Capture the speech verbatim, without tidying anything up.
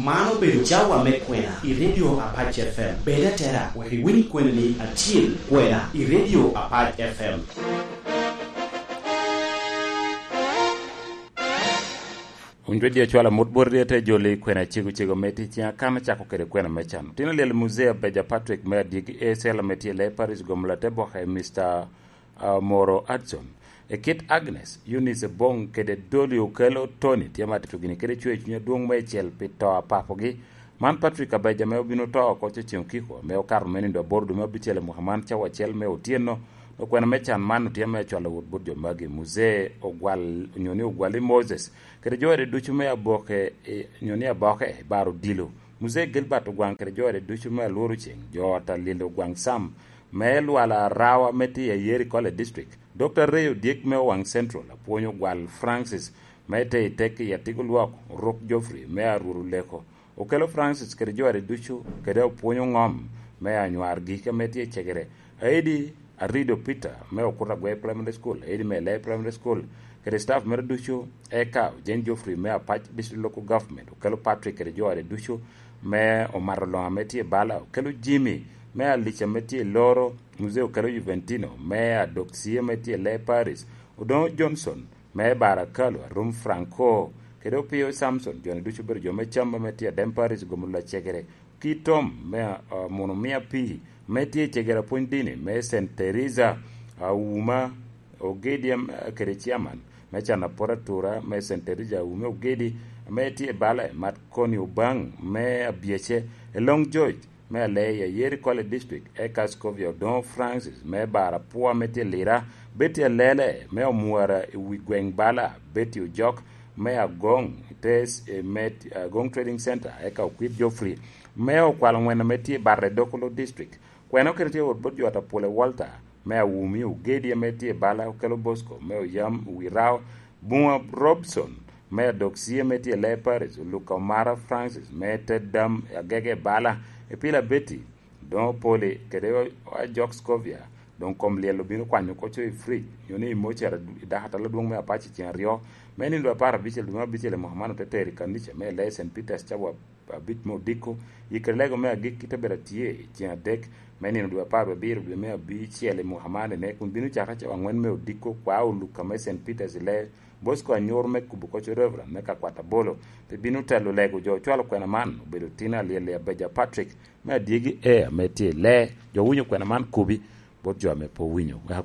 Man obedo cawa me kwena i Radio Apac F M. Bed atera wek iwiny kweni acil kwena i Radio Apac F M. Wun jo di acwala mot bot ryete joli kwena cego cego me tic ciŋ akan acako kede kwena me can. Tin alyel Muzea Beja Patrick me adyegi A C L ame tye i Lay Paris gomo late boke Mister ah, Moro Hudson. E kit Agnes, Eunice Ebong kede Dolly Okello Tony tye ma tito gini kede cwer cuny adwoŋ meicel pi to a papogi. Man Patrick Abeja ame obino to oko cecen okiko, ame okato me nindo aboro dwe me abicel i mwaka man cawa acel me otyeno. Okwena me can man otye me acwalo wot bot jo magi. Muzee Ogwal, onyo ni Ogwali Moses, kede jo ede ducu me aboke, eh, onyo ni aboke, baro dilo. Muzee Gilbert Ogwaŋ kede jo ede ducu me alworo ceŋ, jo ot a Lilo Ogwaŋ Sam, me Lwala Arawa me tye i Ayeri College District, Doctor Ray Odyek me Owaŋ Central, apwony Ogwal Francis me te i tek i Atigo Lwok, Oruk Geoffrey me Aruru Leko, Okello Francis kede jo ade ducu, kede apwony Oŋom me Anywar Gike me tye i Cegere, Aidi Arido Peter me Okuta Agwei Primary School, Aidi me Lei Primary School, kede staff mere ducu, eka Jane Geoffrey me Apac District Local Government, Okello Patrick kede jo ade ducu, me Omato Loŋa me tye i Bala, Okello Jimmy me Alica me tye i Loro, Mzee Okello Juventino me Adoksie me tye i Lei Paris, Odoŋo Johnson me Barakalo, Arum Franco, kede Opio Samson, jo-ni ducu obedo jo me Camba me tye i Adem Paris, gomo lacegere, Kitom me, ah, Muno Mia Pii me tye i cegere apwony dini me Saint Teresa, Auma, Ogedi, em, kede Chairman me Cana Pwod Atura me Saint Teresa, Auma Ogedi, ame tye i Bala, Mat Koni Obaŋ me Abyece, Elong George me Aleya, Yeri College District, eka Scovia Odoŋo Francis me Bar Apwa me tye Lira, Betty Alele me Omwara i wi gweŋ Bala, Betty Ojok me Agoŋ, te, eh, me, Agoŋ Trading Center, eka Okwit Geoffrey me Okwalo Ŋwena me tye Barre Dokolo District. Kwena okene tye wot bot jo ata Pule Walter me Awumi, Ogedi ame tye Bala, Okello Bosco me Oyam, Wirao, Buŋa Robson me Adoksie me tye Lei Paris, Oluka Omara Francis me Teddam Agege Bala, Epila Betty, Odoŋo Poli, kede Ajok Scovia, doŋ kom lyel obino kwanyo oko co i fridge, nyo ni i mocara i dako atalo adwoŋ me Apac i ceŋ aryo, me nindo apar abicel dwe me abicel i mwaka man ote tero i kanica me Lei Saint Peters cawa abic me odiko, yikere lego me agikki te bedo atye i ceŋ adek me nino dwe apar wie abiro dwe me abicel i mwaka man ene, kun bino cake cawa aŋwen me odiko, kwa Oluka me Saint Peters i Lei Bosco Anyor me Kubo Koco Reverend me Kakwat Abolo, pe bino telo lego jo ocwalo kwena man, obedo Tina Alyel i Abeja Patrick me Adyegi Air me tye i Lei, jo winyo kwena man kubi bot jo ame pe owinyo. Wek